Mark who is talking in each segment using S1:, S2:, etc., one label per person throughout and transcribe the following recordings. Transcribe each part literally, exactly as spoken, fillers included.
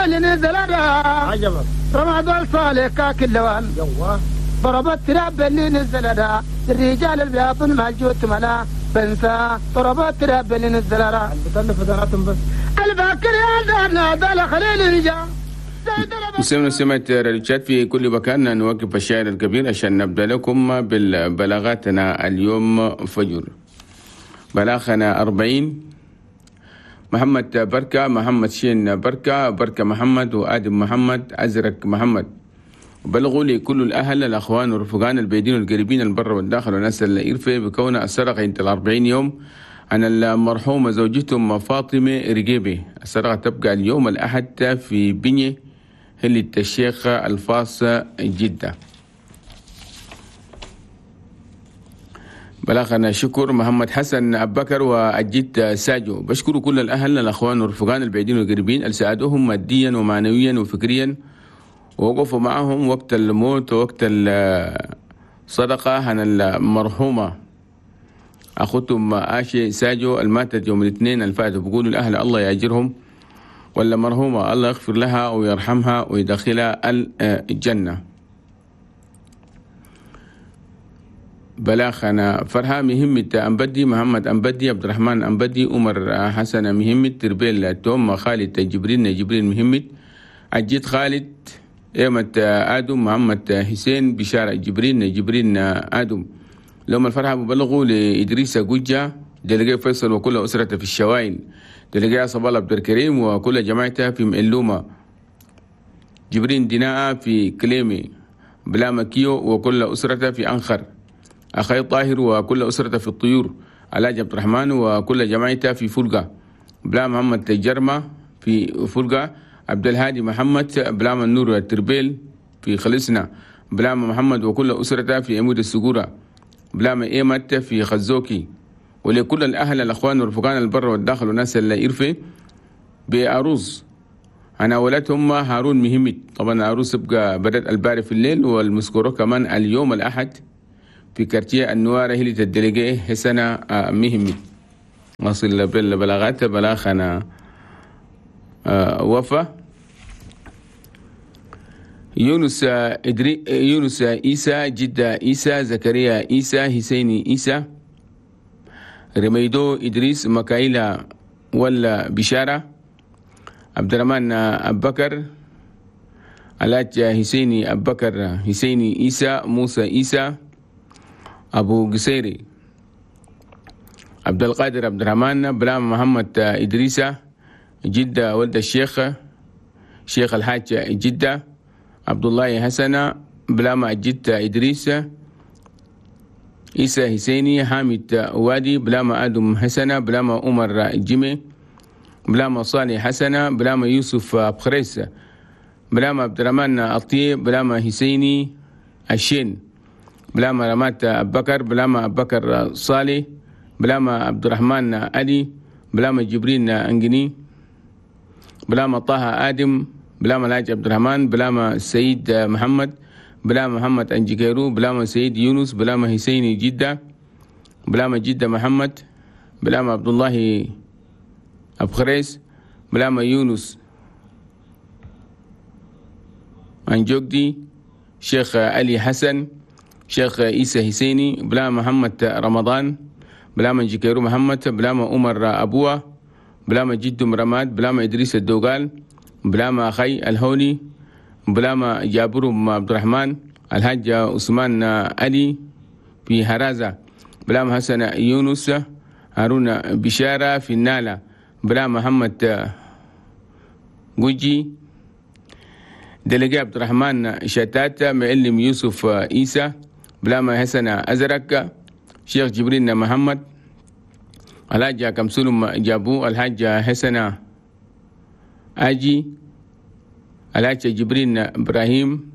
S1: اللي نزل
S2: عجبك
S1: رمضان صالح كاك اللوان
S2: يوه
S1: ضرب التراب اللي نزل الرجال البياطن مع الجوت ملا بنسى ضرب التراب اللي نزل
S2: بتلف دناتهم بس
S1: الباكر يا دار خليل رجال.
S3: مسلمين سمعت راديو في كل مكان. نوقف الشاعر الكبير عشان نبدأ لكم بالبلاغاتنا اليوم فجر. بلاغنا أربعين محمد بركة، محمد شين بركة، بركة محمد، وآدم محمد، أزرق محمد. بلغوا لكل الأهل الأخوان والرفقان البعيدين والقريبين البر والداخل والناس اللي إرفة بكون السرقة انت الأربعين يوم عن المرحومة زوجتهم فاطمة رقيبي. السرقة تبقى اليوم الأحد في بنية هلة الشيخ الفاص جدة. بلغنا شكر محمد حسن أبكر وأجد ساجو. بشكر كل الأهل الأخوان والرفقان البعيدين والقريبين اللي ساعدوهم ماديا ومعنويا وفكريا ووقفوا معهم وقت الموت ووقت الصدقة عن المرحومة أخوتهم آشي ساجو الماتت يوم الاثنين الفات. بقولوا الأهل الله يأجرهم، ولا مرحومة الله يغفر لها ويرحمها ويدخلها الجنة. بلاخنا فرحة مهمة أنبدي، محمد أنبدي، عبد الرحمن أنبدي، عمر حسن مهمة، تربيل توم، خالد جبريل جبريل مهمة، عجيد خالد، إيمة آدم، محمد حسين، بشارة جبريل جبريل آدم. لهم الفرحة ببلغوا لإدريس جوجة دلقي فيصل وكل أسرته في الشواين، دلقي صبال عبد الكريم وكل جماعته في مئلومة، جبرين ديناء في كليمي، بلا مكيو وكل أسرته في أنخر، أخي طاهر وكل أسرته في الطيور، علاج عبد الرحمن وكل جماعته في فلقة، بلا محمد جرمة في فلقة، عبد الهادي محمد بلا النور التربيل في خلصنا، بلا محمد وكل أسرته في عمود السجورة، بلا إيمت في خزوكي. ولكل الأهل الأخوان والرفقان البر والداخل والناس اللي إرفي بأروز أنا ولدهم هارون مهمت. طبعا أروز تبقى بدأت الباري في الليل والمسكورة كمان اليوم الأحد في كارتيه النوارة هي الدلقية حسنة مهمت. نصل بالبلاغات بلاغنا وفا يونس إدري يونس إيسى، جدة إيسى، زكريا إيسى، حسيني إيسى، رميدو إدريس، مكايلا ولا بشارة، عبد الرحمن أبكر، علاج حسيني أبكر، حسيني إيسى، موسى إيسى، أبو قصيري، عبد القادر عبد الرحمن، بلام محمد إدريسة، جدة ولد الشيخ شيخ الحاج جدة، عبد الله حسن، بلاما جدة إدريس، إيسى حسيني، حامد وادي، بلاما آدم حسن، بلاما عمر جيمي، بلاما صالح حسن، بلاما يوسف بخريس، بلاما عبد الرحمن الطيب، بلاما حسيني الشين، بلاما رمات أبكر، بلاما أبكر صالح، بلاما عبد الرحمن علي، بلاما جبرين أنجني، بلاما طه آدم، بلاما الحاج عبد الرحمن، بلاما سيد محمد، بلاما محمد أنجيكيرو، بلاما سيد يونس، بلاما حسيني جدة، بلاما جدة محمد، بلاما عبد الله أبخريس، بلاما يونس أنجوكدي، شيخ علي حسن، شيخ عيسى حسيني، بلاما محمد رمضان، بلاما جيكيرو محمد، بلاما عمر أبوه، بلاما جدو مرماد، بلاما إدريس الدوغال، بلاما أخي الهوني، بلاما جابر عبد الرحمن، الحاج عثمان علي في هرازة، بلاما حسن يونس، هارون بشارة في النالة، بلاما محمد جوجي، دلقي عبد الرحمن شتات، معلم يوسف عيسى، بلاما حسن أزرق، شيخ جبريل محمد، الحاج كمسلم جابو، الحاج حسن أجي، الحاج جبرين إبراهيم،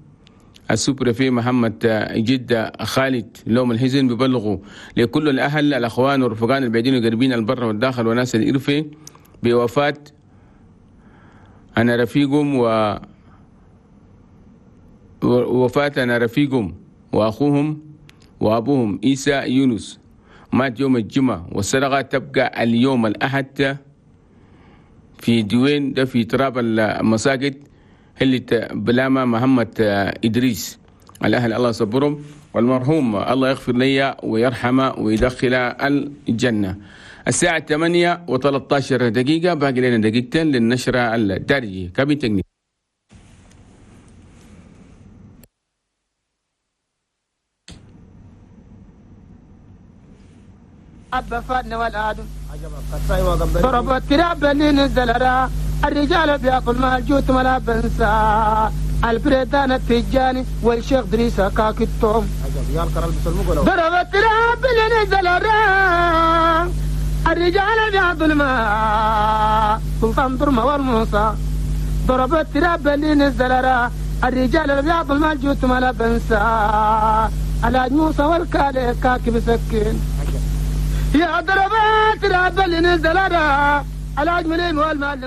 S3: السوبرفي محمد جدة خالد. لوم الحزن ببلغوا لكل الأهل الأخوان والرفقان البعيدين والقريبين البر والداخل وناس الإرفة بوفاة أنا رفيقهم و وفاة أنا رفيقهم وأخوهم وأبوهم عيسى يونس، مات يوم الجمعة، والصدقة تبقى اليوم الأحد في دوين ده في تراب المساجد اللي بلامة محمد إدريس. الأهل الله يصبرهم، والمرحوم الله يغفر لي ويرحمه ويدخل الجنة. الساعة ثمانية وثلاثة عشر دقيقة، باقي لنا دقيقتين للنشرة الدارجة. كابين تكنيك.
S1: أبا فاتنا والآدم ضرب التراب اللي نزل را الرجال بياكل مال جوت ملا بنسى البريدان التجاني والشيخ دريسة كاكتهم. ضرب التراب اللي نزل را الرجال بياكل مال سلطان درما والموسى. ضرب التراب اللي نزل را الرجال بياكل مال جوت ملا بنسى الحاج موسى والكالي كاكب سكين. يا ضربات راب اللي نزل را الحاج مليم والمعلم.